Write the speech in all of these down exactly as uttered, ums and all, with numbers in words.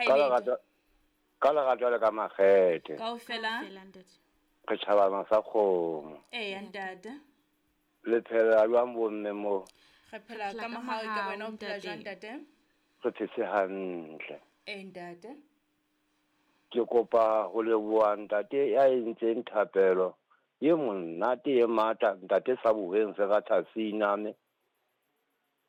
Ka lerato ka lerato le ka makgethe. Kaofela. Re tjhabana sa kgomo. Eya ntate. Le phela jwang bomme mo? Re phela ka mohau ka wena o phela jwang ntate? Re phetse hantle. Eh ntate. Ke kopa ho leboha ntate ya entseng thapelo ye monate ye matla ntate sa boheng se ka thasina me.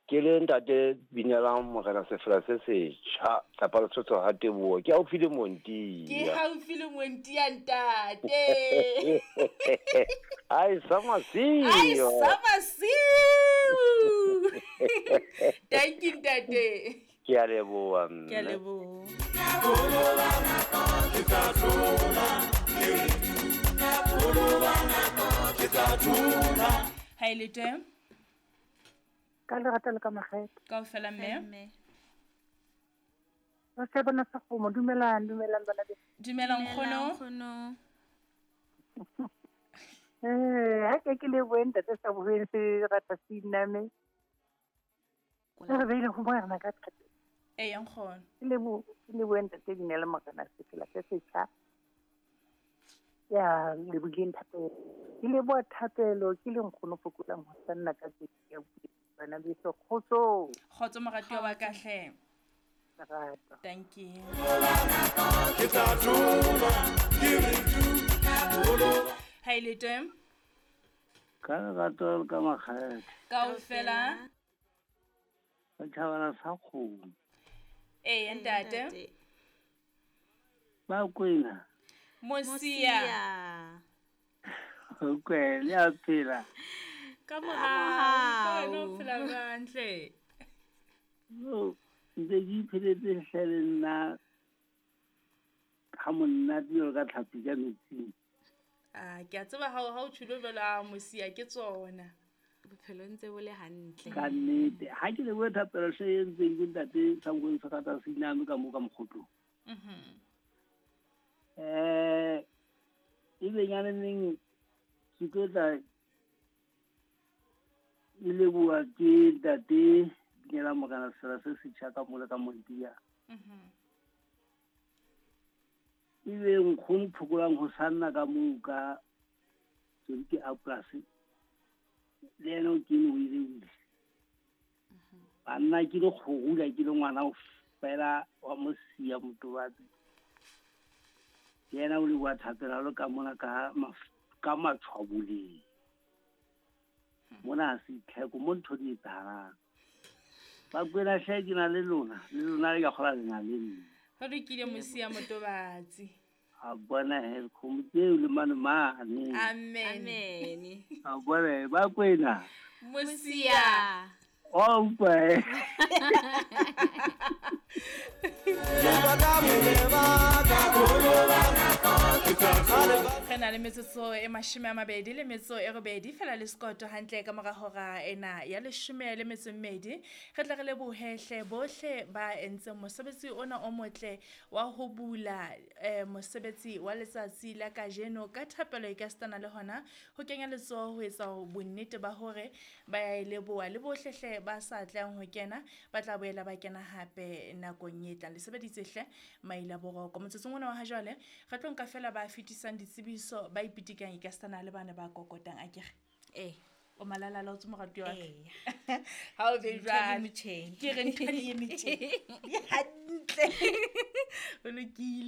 Ke le ntate binelang morena sefela se setjha tlapa Lesotho ha Teboho ke haufi le Montia. Ke haufi le Montia ntate. Ai sa masiu. Ai sa masiu. Thank you ntate. Ke a leboha mme. Ke a leboha. Ha ile teng? Ka lerato le ka makgethe. Kaofela mme. Ba se bona sa kgomo, dumelang, dumelang bana beso. Dumelang nkgono. Eh, ha ke ke lebohe ntate sa boheng se rata siname. Re beile ho morena ka thapelo. Eya nkgono. Ke lebohe, ke lebohe ntate Dinele morena sefela se setjha. Ya lebohileng thapelo. Ke leboha thapelo ke le nkgono fokolang ho sanna ka tsela ya bana beso kgotso. Kgotso moratuwa wa ka hle. Lerato. Thank you. Ha ile teng? Ka lerato ka makgethe. Kaofela. Re tjhabana sa kgomo. Eya ntate. Ba kwena. Mosia. O kwele a phela. Ka mohau, no phela hantle. No, ntse ke ipheletse hle le nna ha monate jwalo ka tlhapi ka metsing. Ah, ke a tseba ha ha o tjholo jwalo a Mosia ke tsona. Bophelo ntse bo le hantle. Ka nnete, ha ke lebohe thapelo hle e entseng ke ntate sa boheng se rata siname ka mo ka mokgotlong. Mhm. Eh, ebe nyane neng ke tlo tla e leboha ke ntate Dinela morena sefela se setjha ka mole ka Montia. Mhm. Ebe nkgono phokolang ho sanna ka moo ka ke a polasi le yena o kene o ile o ile. Banna ke le kgorula ke le ngwana o fela wa Mosia Motobatsi. Ke yena o leboha thapelo lo ka mona ka ka matshwaboleng. Mona ha se tlheko mo ntho di etsahalang. Ba kwena hle ke na le lona, le lona le ka kgola le na le nna. Ho lokile Mosia Motobatsi. A bona he kgomo tseo le mane mane. Amen. Amen. A bona ba kwena. Mosia. O utlwa he. Re na le metsotso e mashome a mabedi le metso e robedi fela le sekoto hantle ka mora hora ena ya leshome le metso e mmedi. Re tla re lebohe hle bohle ba entseng mosebetsi ona o motle wa ho bula eh, mosebetsi wa letsatsi la kajeno ka thapelo e ka sitana le hona ho kenya letsoho ho etsa bonnete ba hore ba ya e leboha le bohle hle ba sa tlang ho kena ba tla boela ba kena hape nakong e tlang. Le sebeditse hle maila boroko motsotsong ona wa ha jwale re tlo nka fela ba fetisang ditsebiso ba ipitikang e ka sitana le bana ba kokotang akere. Eh. O malala la o tswe moratuwa wa ka. Eh. Ha o be Ntho di jwalo. metjheng. Ke re ntho di e metjheng. Di hantle. O lokile.